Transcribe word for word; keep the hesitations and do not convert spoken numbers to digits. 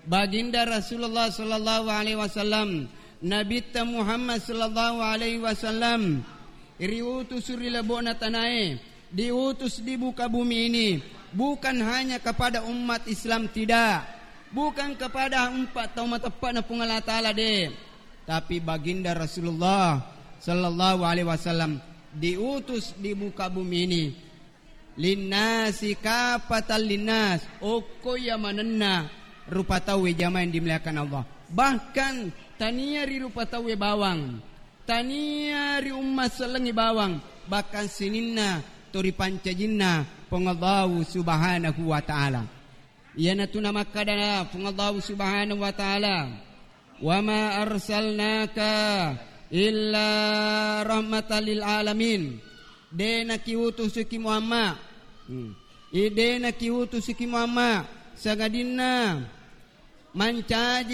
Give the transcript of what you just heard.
Baginda Rasulullah sallallahu alaihi wasallam, Nabitta Muhammad sallallahu alaihi wasallam, riutus ri lebo'na tanae, diutus di muka bumi ini, bukan hanya kepada umat Islam, tidak, bukan kepada empat tau mateppe'na Puang Allah Ta'ala, de, tapi Baginda Rasulullah sallallahu alaihi wasallam diutus di muka bumi ini. Linnasi kapatan linnas, okko iya manenna rupa tauwe jamaah yang dimuliakan Allah. Bahkan tania ri rupa tauwe bawang, tania ri umma sellengi bawang, bahkan sininna to ripancajinna Puang Allahu Subhanahu wa Ta'ala. Iyanatu namakkada Puang Allahu Subhanahu wa Ta'ala, "Wa ma arsalnaka illa rahmatan lil alamin." De nakiutusuki Muhammad. Hmm. I de nakiutusuki Muhammad sangadinna mancaji